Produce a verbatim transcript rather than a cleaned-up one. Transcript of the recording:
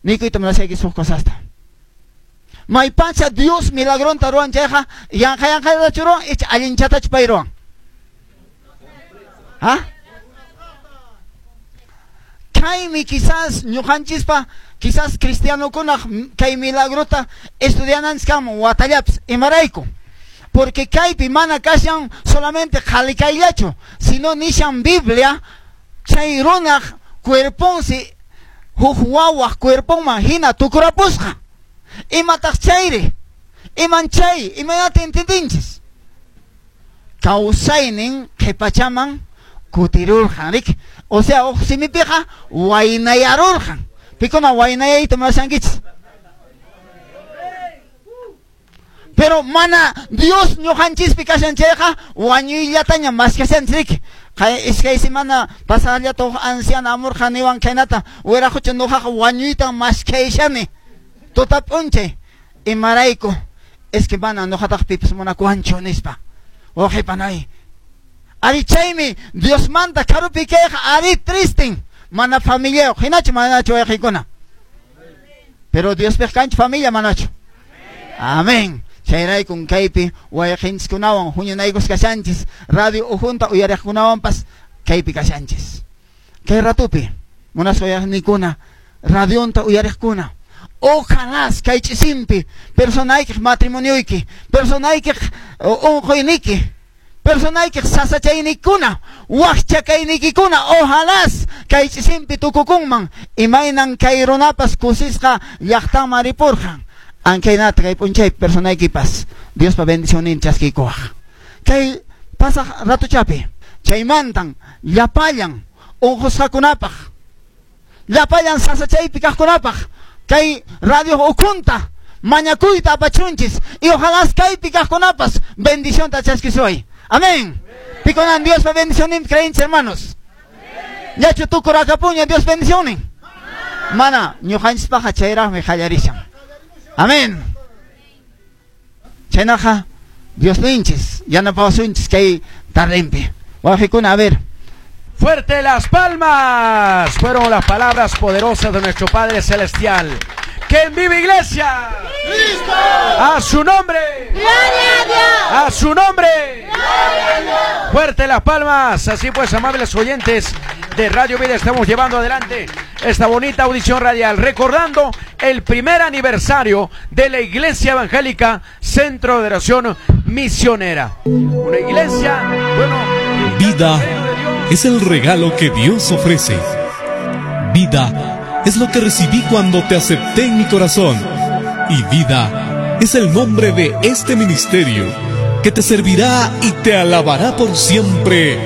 Niykuyta munashayki huk cosasta. Maypacha Dios milagronta ruwan chayqa yanqa yanqallatachu ruwan icha allinchatachu pay ruwan? ¿Ha? Kaymi quizás ñuqanchispa quizás cristianokunaq kay milagrota estudiananchis kanman watallapis. Imarayku? Porque kaypi mana kashan solamente qhalikayllachu, sino nishan Biblia chay runaq cuerponsi huk wawaq cuerponman hina tukurapusqa. Imataq chayri? Iman chay? Imaynata entendinchis? Kawsaynin qhipachaman kutirurqan, rik? O sea, huk simipiqa waynayarurqan. Pikuna waynayayta munashankichis? Pero mana Dios ñuqanchispi kashan chayqa wañuyllataña maskashanchis, rik? Kay iskay semana pasaqllata huk anciana amurqa niwan khaynata, wiraqucha ñuqaqa wañuytan maskayshani. Tuta p'unchay imarayku? Es que mana ñuqataq pipas munakuwanchu nispa. Wawqipanay, ari chaymi Diosmanta karupi kayqa ari tristen, mana familiayuq, hinachu manachu wawqiykuna? Pero Diospiq kanchu familia manachu? Amén. Chayraykun kaypi wawqinchiskunawan huñunaykus kashanchis, radio ujunta uyariqkunawanpas kaypi kashanchis. Kay ratupi munasqa uyariqnikuna, radionta uyariqkuna, ojalá kay ch'isinpi personaykiq matrimonioyki, personaykiq unquyniki, personaykiq sasachaynikuna, wakchakaynikikuna, ojalá kay ch'isinpi tukukunman imaynan kay runapas kusisqa llaqtanman ripurqan. Ankaynata kay p'unchaypi personaykipas Diospa bendicionnin chaskiykuwaq. Kay pasaq ratuchapi chaymantan llapallan unqusqakunapaq, llapallan sasachaypi kaqkunapaq kay radio ukhunta mañakuyta apachunchis y ojalá kaypi kaqkunapas bendicionta chaskisuay. Amén. Pikunan Diospa bendicionnin creenchis, hermanos. Yachu tukurakapuña Dios bendicionnin. Mana ñuqanchispaqa chayraqmi qallarishan. Amén. Chaynaqa Dios ninchis yanapawasunchis kay tardenpi. Wawqikuna, a ver. Fuerte las palmas. Fueron las palabras poderosas de nuestro Padre Celestial. ¡Que viva Iglesia! ¡Cristo! ¡A su nombre! ¡Gloria a Dios! ¡A su nombre! ¡Gloria a Dios! Fuerte las palmas. Así pues, amables oyentes de Radio Vida, estamos llevando adelante esta bonita audición radial, recordando el primer aniversario de la Iglesia Evangélica Centro de Oración Misionera. Una iglesia, bueno, Vida es el regalo que Dios ofrece. Vida es lo que recibí cuando te acepté en mi corazón. Y vida es el nombre de este ministerio que te servirá y te alabará por siempre.